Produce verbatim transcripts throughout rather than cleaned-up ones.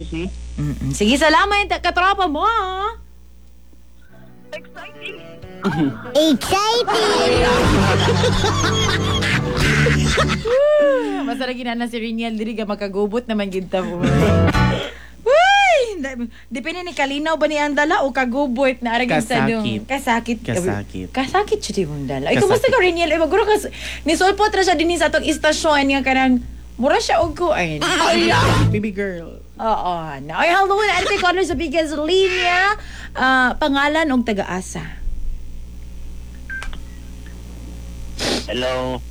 Si? Mm-mm. Sige, salamat katropa mo. ah. Exciting! Exciting! Basta lagi na na si Riniel diri ka makagubot naman gid ta mo. Uy! Depende ni kalinaw ba ni ang dala o kagubot na aragin sa dong. Kasakit. Kasakit. Kasakit. Kasakit siya di mong dala. Ay, Kasakit. kumusta ka Riniel? Ay, maguro ka. Ni sulpot ra siya dinhi sa atong istasyon nga kanang mura siya og kuan. Baby girl. Oo. Na. Ay, hello na ate caller sa Bigas Linya. Ah, pangalan og taga-asa. Hello.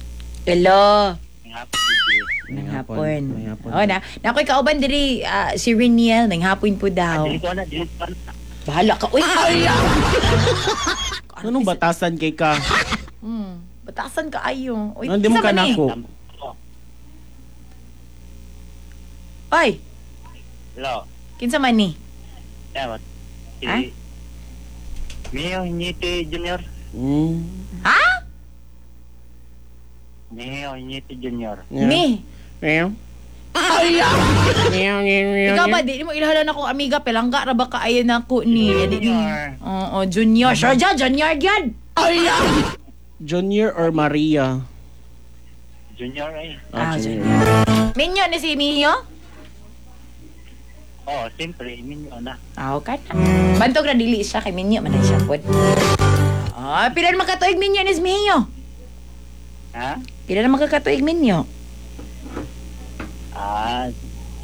Hello. Ang hapon, Gigi. Nang hapon. May hapon. Oh, na. Nakoy kauban diri ah, si Riniel nang hapon po daw. Dili ko na, dili ko na. Bahala ka. Uy. Anong batasan kay ka? Hmm. Batasan ka ayo. Uy, Ano, di mo kinsa ka man eh? nako? Oh, Oy, hello. kinsa man ni? Dapat. Si... Ah? Mio Iñite Junior. Mm. Ha? Mio Iñite Junior. Yeah. Mi. Meow. Meow, meow, meow, Ikaw ba meow. di mo ilhalan ako amiga pelangga ra ba ka ayo nako ni? Di- di- Junior. Oo, junior. Sure ja, junior gyud. Junior or Maria? Junior ay. Ah, junior. Minyo ni si Mio? Oh, siyempre, minyo na. Ah, okay na. Bantog ra dili siya kay Minyo man na siya pod. Ah, pila na makatuig Minyo ni si Mio? Ha? Pila na makakatuig Minyo? Ah,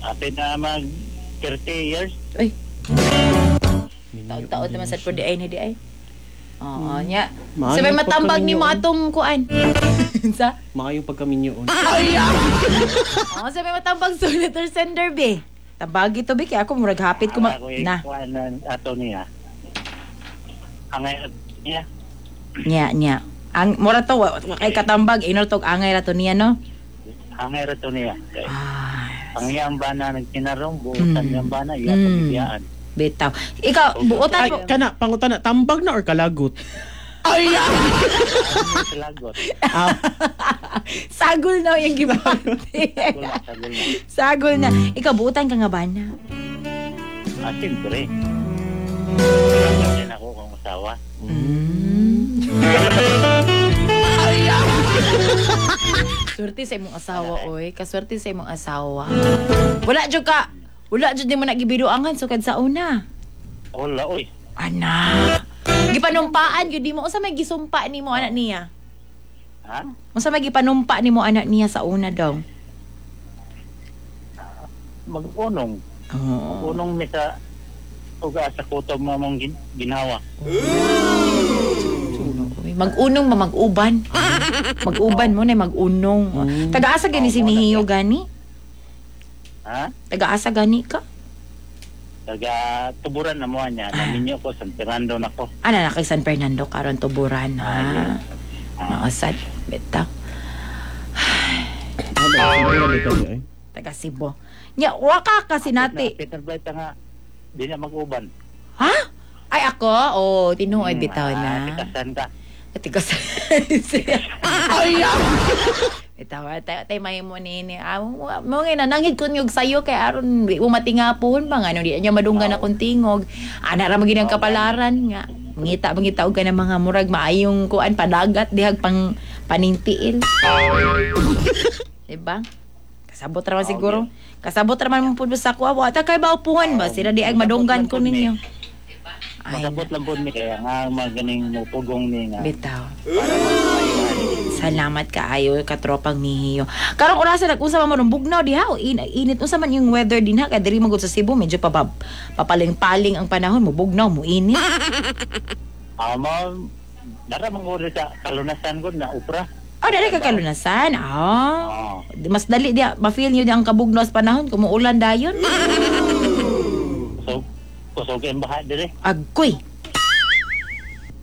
ate na mag thirty years. Uy, Minyo taod-taod naman sad po di ay na di ay. Oo, nya. Maayo Sabay matambag ni mo pagkaminyo. atong kuan. Sa? Maayong pagkaminyoon. Oo, sabay matambag sa letter sender be. Tambagi to be kay ako murag hapit ko ma- Ako na. ikuan na ato niya. Angay niya. Nya nya. Ang mura to wa, wa kay katambag inol tog angay ra to niya no. Angay ra to niya. Kay, Ah, Ang iyang bana nagtinarong, buutan Mm. iyang bana, iya Mm. pagibiyaan. bitaw. Ikaw buotan Ay, mo. kana, pangutana, tambag na or kalagot? Ang Lagot. Ah, Sagol na yung gibati. Sagol na, sagol na. Sagol na. Ikaw buotan ka nga ba na? Ah, siyempre. Kaya ako kung asawa. Mm. Swerte sa imong asawa, oy. Kaswerte sa imong asawa. Wala jud ka. Wala jud nimo nagibiruangan sukad sa una. Wala, oy. Ana. Gipanumpaan gyud nimo unsa may gisumpa nimo anak niya? Ha? Unsa may gipanumpa nimo anak niya sa una daw? Mag-unong. Oh. Unong mi sa uga sa kutob mo mong gin- ginawa. Uy, Mag-unong ma mag-uban. Mag-uban mo na mag-unong. Mm. Taga-asa gani si Mihiyo gani? Ha? Taga-asa gani ka? Taga tuburan na mo niya. Naminyo ko, San Fernando na ko. Ana na kay San Fernando karon tuburan ha. Maosad bitaw. ano, ano, ano, ano, eh? Taga Cebu. Nya waka kasi nati. Peter Blight nga, di na mag-uban. Ha? Ay ako? Oh, tinuod bitaw Ah, na. Tikasan ka. Tigas. Ay. Bitaw tay tay may mo nini. Ah, mo mo nga nanangid kun yung sayo kay aron di mo matingapon pa nga no di niya madunggan akong tingog. Ana ra magid ang kapalaran nga. Mangita mangita og ka ng mga murag maayong kuan padagat dihag pang panintiil. Diba? Kasabot ra man siguro. Kasabot ra man mo pud sa kuha. Wa ta kay baupuhan ba sila di ag madunggan ko ninyo. Ay, Masabot lang po ni kaya nga maganing mo pugong ni nga. bitaw. Salamat kaayo katropang mihiyo. Karong orasa nag-usa man mo ng bugnaw diha o in, init unsa man yung weather dinha kay diri magud sa Cebu medyo pa papaling-paling ang panahon mo bugnaw mo init. Ah, mo, dara manguri sa kalunasan ko na upra. Oh, dali ka kalunasan. Ah. Oo. Mas dali diha ma-feel niyo ang kabugnaw sa panahon kung muulan dayon. Kusog, kusog ang baha dire. Agoy.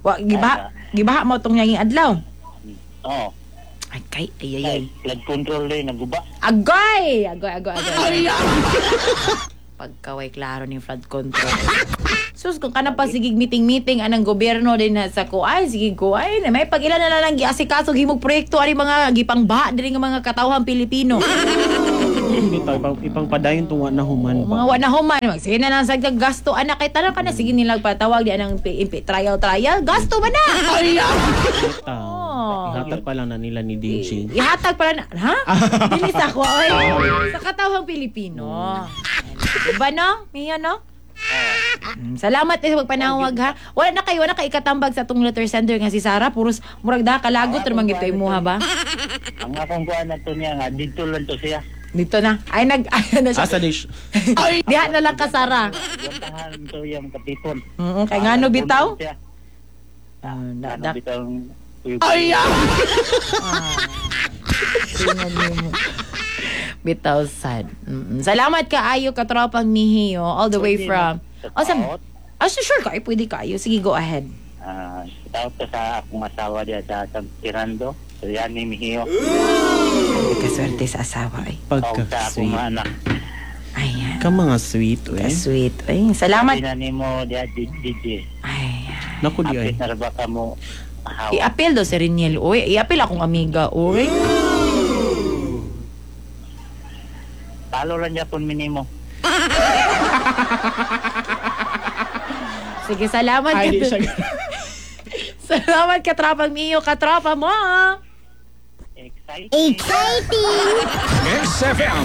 Wa gibaha gibaha mo tong yanging adlaw. Oo. Ay kay ay ay ay. Flood control din, naguba. Agoy! Agoy, agoy, agoy. Pagkaway klaro ni flood control. Sus, kung kanang pa sige meeting-meeting anang gobyerno din na sa kuay, sige kuay, na may pag-ilan na lang giasikaso himog proyekto ani mga gipangbaha diri nga mga katawhan Pilipino. Bitaw, ipang, ipangpadayon tong wa na human Mga ba? wa na human, mag sige na lang sa gasto anak kay tanan ka na sige nilang patawag di anang P- P- trial trial gasto ba na? Bitaw. Oh. Ihatag pa lang na nila ni D J. Ihatag pala na, ha? Dili sa ako, oy. Sa katawhang Pilipino. Diba no? Mia no? Mm, Salamat eh sa pagpanawag ha. Wala na kayo, wala na kayo ikatambag sa atong letter sender nga si Sarah. Puros murag da kalagot ra man gyud kay imuha ba? Ang akong kuan na to niya nga dito lang to siya. Dito na. Ay nag ay, na siya. Asa di siya? Diha na lang ka, Sarah. Gantahan to yung kapipon. Mm, kay ngano bitaw? Siya. Ah, na, Ngano da, bitaw? Ay! Tingnan mo. Bitaw sad. Mm, Salamat kaayo, katropang Mihiyo, all the way from Oh, sa Ah, sure kayo, pwede kayo. Sige, go ahead. Ah, tawag ko sa akong asawa diya sa San Fernando. So yan ni Mihiyo. Kaswerte sa asawa ay. Tawag sa akong Pagka-sweet. mga anak. Ayan. Ka mga sweet, eh. Ka-sweet. Ay, salamat. Sabi na nimo diya D J. Ay. Naku di ay. Apit na ra ba ka mo hawa? I-appeal daw si Reniel. Uy, i-appeal akong amiga. Uy. Talo lang japon minimo. Sige, salamat. Ay, di ka- siya. Salamat, katropang Mio. Katropa mo. Exciting. S F M.